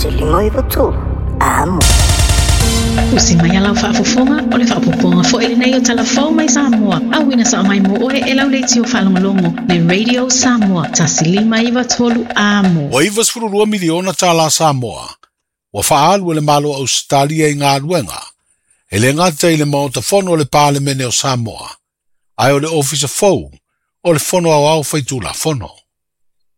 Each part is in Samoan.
1 5 9 3 Amo. Tusi mai a lau faafofoga o le faaopoopoga foi lenei o Tala Fou mai Samoa, auina sao mai mo oe e lau leitio faalogologo le Radio Samoa 1 5 9 3 Amo. Ua 92 miliona tālā Samoa ua faaalu e le Malo o Ausetalia i galuega e lē gata i le Maota Fono o le Palemene o Samoa, ae o le Ofisa fou o le Fono Aoao Faitulafono.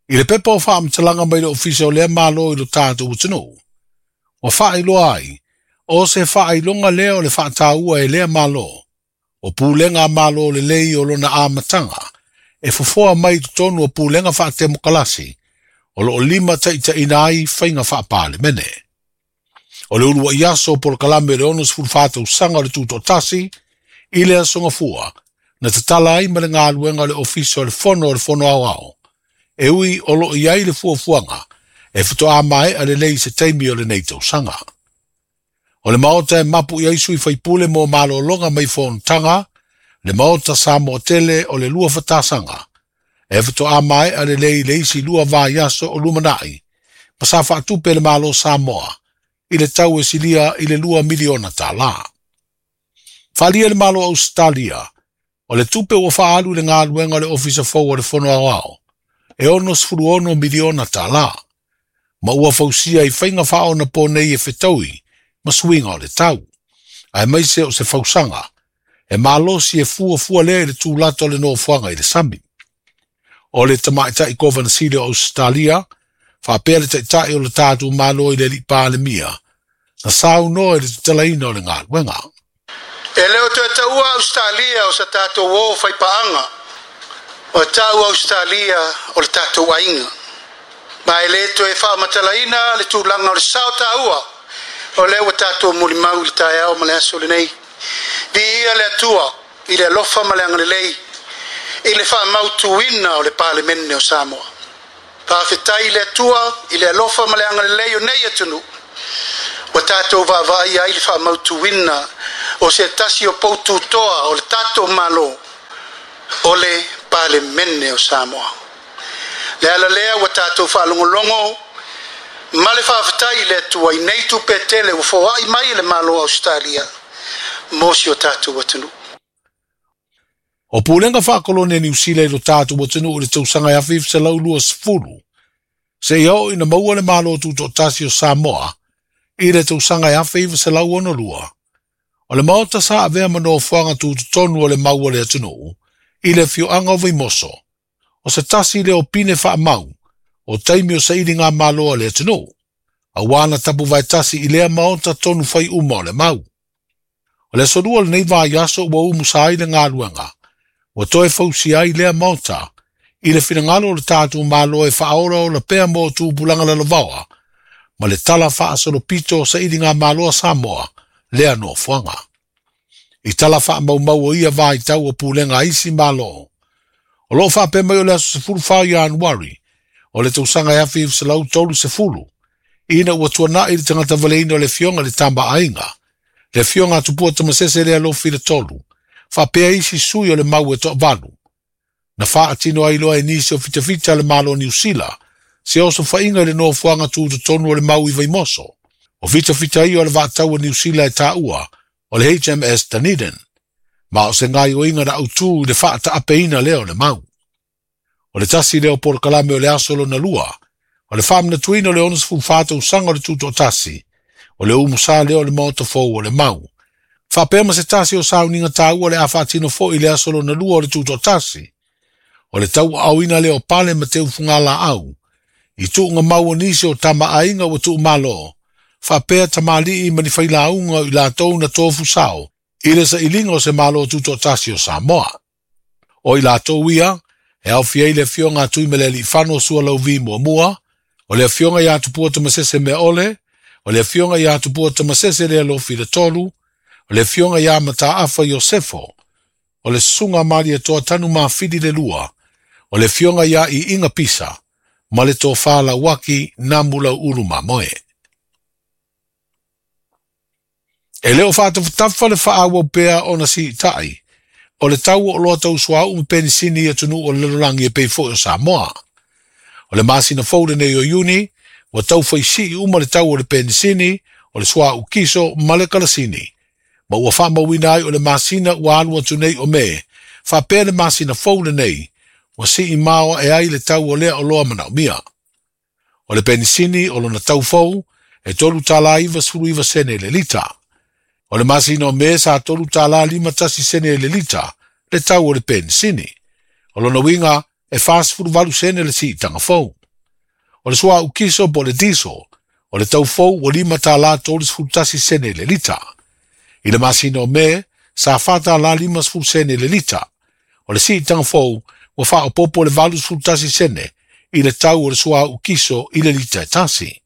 I le pepa o faamatalaga mai le Ofisa o lea Malo i lo tatou atunuu, ua faailoa ai o se faailoga lea o le faataua e lea Malo o pulega a Malo lelei o lona amataga e fofoa mai i totonu o pulega faatemokalasi o loo limataitaʻina ai faiga faapalemene. O le uluai aso o polokalame o le 64 tausaga o le Tutoatasi i le Aso Gafua na tatala ai ma le galuega o le Ofisa o le Fono o le Fono Aoao, e ui o loo i ai le fuafuaga e faatoā maea lelei i se taimi o lenei tausaga. O le maota e mapu i ai sui faipule mo malologa mai fonotaga, le Maota Samoa tele o le lua fatasaga, e faatoā maea lelei le isi 2 vaiaso o lumanai, ma sa faatupe le Malo Samoa i le tau e silia i le 2 miliona tālā. Faaalia le Malo Ausetalia, o le tupe ua faaalu i le galuega o le Ofisa fou o le Fono Aoao, e 66 miliona tālā, ma ua fausia i faiga faaonaponei e fetaui ma suiga o le tau, aemaise o se fausaga e malosi e fuafua lea i le tulata o le nofoaga i le sami. O le tamaitai Kovana Sili o Ausetalia faapea le taitai o le tatou Malo i le alii Palemia na saunoa i le tatalaina o le galuega. E le o toe taua Ausetalia o sa tatou o faipaaga, o tau Ausetalia o le tatou aiga. Ma e le toe faamatalaina le tulaga o le sao taua o lea ua tatou molimau i le taeao ma le aso lenei. Viia le Atua i le alofa ma le agalelei i le faamautuina o le Palemene o Samoa. Faafetai i le Atua i le alofa ma le agalelei o nei atunuu ua tatou vaavaai ai le faamautuina o se tasi o poututoa o le tatou Malo, o le Palemene o Samoa. Le ala lea ua tatou faalogologo ma le faafetai i le Atua i nei tupe tele ua foai mai e le Malo o Ausetalia mo si o tatou atunuu. O pulega faakolone a Niu Sila i lo tatou atunuu i le tausaga e 1920 seia oo ina maua le Malo Tutoatasi o Samoa i le tausaga e 1962, o le maota sa avea ma nofoaga tutotonu o le mau o le atunuu i le afioaga o Vaimoso, o se tasi lea o pine faamau o taimi o sailiga malo a le atunuu, auā na tapuvaetasi i lea maota tonu fai uma o le mau. O le aso Lua o lenei vaiaso ua umusa ai le galuega ua toe fausia ai lea maota i le finagalo o le tatou Malo e faaolaola pea mo tupulaga lalovaoa ma le tala faasolopito o sailiga malo a Samoa lea nofoaga. I tala faamaumau o ia vaitau o pulega a isi Malo, o loo faapea mai o le aso 14 Ianuari o le tausaga e 1930, ina ua tuanai le tagata valeina o le afioga i le Tama a Aiga, le afioga a Tupua Tamasese Lealofi le Tolu, faapea isi sui o le mau e toavalu, na faatino ai loa e nisi o fitafita a le Malo o Niu Sila se osofaiga i le nofoaga tutotonu o le mau i Vaimoso. O fitafita ia o le vaatau a Niu Sila e taua o le HMS Dunedin, ma o se gaoioiga na autū i le faataapeina lea o le mau. O le tasi lea o polokalame o le aso lona lua, o le faamanatuina o le 64 tausaga o le Tutoatasi, o le umusa lea o le Maota fou o le mau, faapea ma se tasi o sauniga taua le a faatino foi i le aso lona lua o le Tutoatasi, o le tauaaoina lea o pale ma teufugalaau i tuuga mau o nisi o tamaaiga ua tuumalo, faapea tamalii ma ni failauga o i latou na tofu sao i le sailiga o se Malo Tutoatasi o Samoa. O i latou ia e aofia ai le afioga a Tuimalealiifano Sualauvi muamua, o le afioga ia Tupua Tamasese Meaole, o le afioga ia Tupua Tamasese Lealofi le Tolu, o le afioga ia Mataafa Iosefo, o le susuga a Malietoa Tanumafili le Lua, o le afioga ia Iiga Pisa, ma le Tofa Lauaki Namulauulu Mamoe. E le o faatafatafa le faaauau pea ona siitai o le tau o oloa tau suauu ma penisini i atunuu o le lalolagi e pei foi o Samoa. O le masina fou lenei o Iuni, Ua taufaisii uma le tau o le penisini, o le suauu kiso ma le kalasini. Ma ua faamauina ai o le masina ua alu atu nei o Me, faapea le masina fou lenei, ua sii maoae ai le tau o lea oloa manaomia. O le penisini o lona tau fou, e $3.99 i le lita. O le masina o Me sa $3.51 i le lita, le tau o le penisini. O lona uiga e 48 sene le siitaga fou. O le suauu kiso po o le diesel, o le tau fou ua $5.31 i le lita. I le masina o Me, sa $4.50 i le lita. O le siitaga fou ua faaopoopo le 81 sene i le tau o le suauu kiso i le lita e tasi.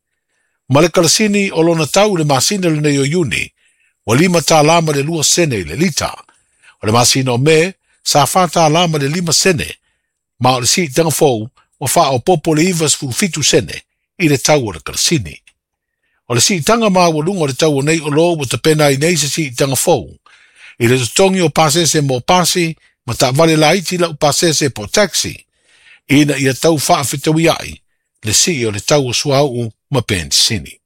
Ma le kalasini o lona tau i le masina lenei o Iuni, ua $5.02 i le lita. O le masina o Me, sa $4.05, ma o le siitaga fou ua faaopoopo le 97 sene i le tau o le kalasini. O le siitaga maualuga o le tau o nei oloa ua tapena ai nei se siitaga fou, i le totogi o pasese mo pasi ma taavale laiti lau pasese po taxi, ina ia tau faafetauiai le sii o le tau o suauu ma penisini.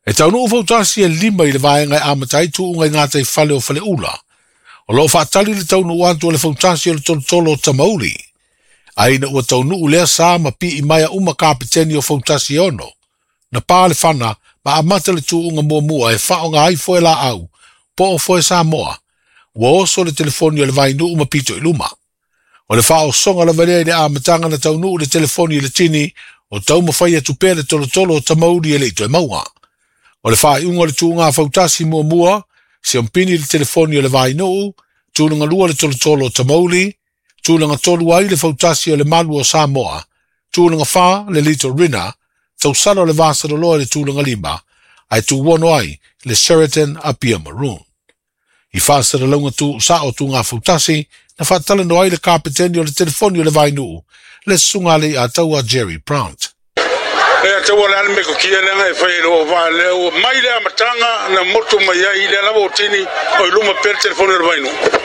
E taunuu fautasi e 5 i le vaega e amata ai tuuga i gataifale o Faleula. O loo faatali le taunuu atu o le fautasi o le tolotolo o Tamauli. Ai ina ua taunuu lea sa ma pii maia uma kapeteni o fautasi e 6. Na pā le fana ma amata le tuuga muamua e faaaoga ai foe laau, po o foe Samoa. Ua oso le telefoni o le Vainuu ma pito i luma. O le faaosoga lava lea i le amataga na taunuu le telefoni i le tini o taumafai atu pea le tolotolo o Tamauli e le i toe maua. O le faaiuga o le tuuga fautasi muamua, siompini le telefoni o le Vainuu, tulaga 2 le tolotolo o Tamauli, tulaga 3 ai le fautasi o le Malu o Samoa, tulaga 4 le Little Rina, tausala o le Vasaloloa i le tulaga 5, ae tuuono ai le Sheraton Apia Maroon. I faasalalauga tu sao tuuga fautasi, na faatalanoa ai le kapeteni o le telefoni o le Vainuu, le susuga le ataua Jerry Brant. E ataua le ale me kokia lenga e whai roa wā leo. Mai le amatanga na motu mai ai le lava o tini o i luma pere telefoni o le Vainuu.